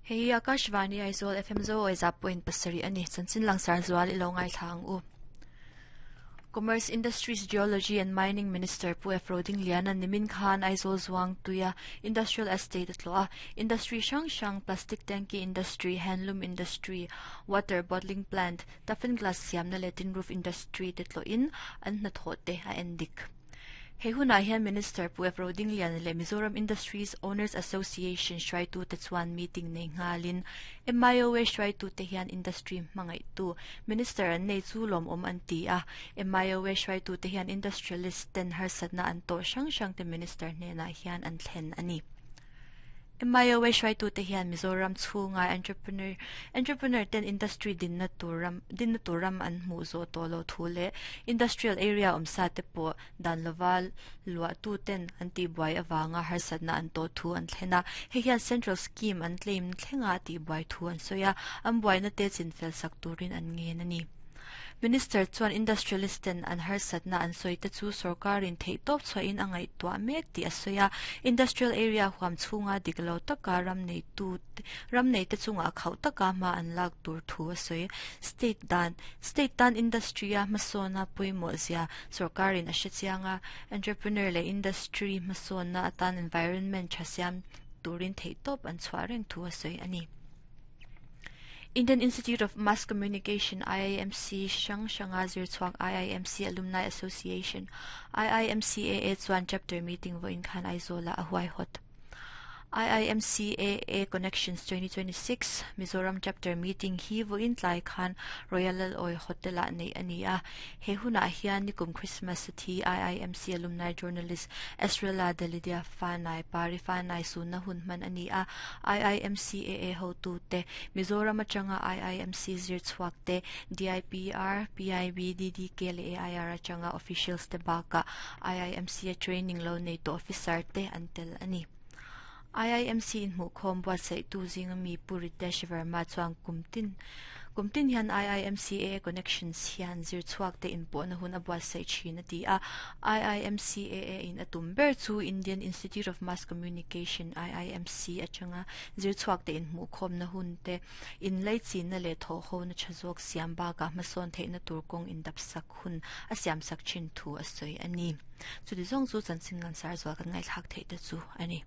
Hei hi Akashvani Aizawl FM Zo Awiza point pasarih a ni. Chanchin langsar zual i lo ngaithla ang u. Commerce, Industries, Geology and Mining Minister Pu F. Rodingliana nimin khan Aizawl Zuang tuia Industrial Estate a tlawh a. Industry hrang hrang, Plastic Tanki Industry, Handloom Industry, Water Bottling Plant, Toughen Glass siamna leh Tin Roof Industry te tlawhin an hnathawh te a en dik. He hunah hian Minister Pu F. Rodingliana leh Mizoram Industries Owners Association hruaitute chuan meeting nei nghalin MIOA hruaitute hian industry hmangaihtu Minister an nei chu lawmawm an ti a. MIOA hruaitute hian industrialist ten harsatna an tawh hrang hrangte Minister hnenah hian an thlen a ni. MIOA hruaitute hian Mizoram chhunga entrepreneur entrepreneur ten industry dinna tur ram dinna tur ram an hmuh zawh tawh loh thu leh industrial area awmsa te pawh dan lova luahtu ten an tihbuai avanga harsatna an tawh thu an thlen a. Hei hian central scheme an claim thlenga tihbuai thu an sawi a, an buaina te chinfel sak turin an ngen a ni. Minister chuan industrialist ten an harsatna an sawi te chu sorkarin theihtawp chhuahin a ngaihtuah mek tih a sawi a. Industrial area huam chhunga dik lo taka ram neitu ram neite chungah khauh taka hma an lak tur thu a sawi. State dan State tan industry a hmasawna pawimawh zia sorkarin a hre chiang a, entrepreneur leh industry hmasawnna atan environment tha siam turin theihtawp an chhuah reng thu a sawi a ni. Indian Institute of Mass Communication, IIMC, hrang hranga zirchhuak IIMC Alumni Association, IIMCAA, chuan chapter meeting vawiin khan Aizawlah a huaihawt. IIMCAA Connections 2026 Mizoram Chapter Meeting hi vawiin tlai khan Royal Lalawi Hotel-ah neih a ni a. He hunah hian nikum Christmas a thi IIMC Alumni Journalist Esrela Delidia Fanai, Pari Fanai sunna hun hman a ni a. IIMCAA hotute, Mizoram atanga IIMC zir chhuak te, DIPR, PIB, DDK leh AIR atanga officials te bakah IIMC a training lo nei tawh officer te an tel a ni. IIMC inhmuhkhawm buatsaihtu zinga mi Pu Ritesh Verma chuan kum tin kum tin hian IIMCAA Connections hian zir chhuak te inpawhna hun a buatsaih thin a ti a. IIMCAA in a tum ber chu Indian Institute of Mass Communication, IIMC, atanga zir chhuak te inhmuhkhawmna hun te inlaichinna leh thawhhona tha zawk siam bakah hmasawn theihna tur kawng indapsak hun a siamsak thin thu a sawi a ni. Chuti zawng chu chanchin ngansar zual kan ngaihthlak theih te chu a ni.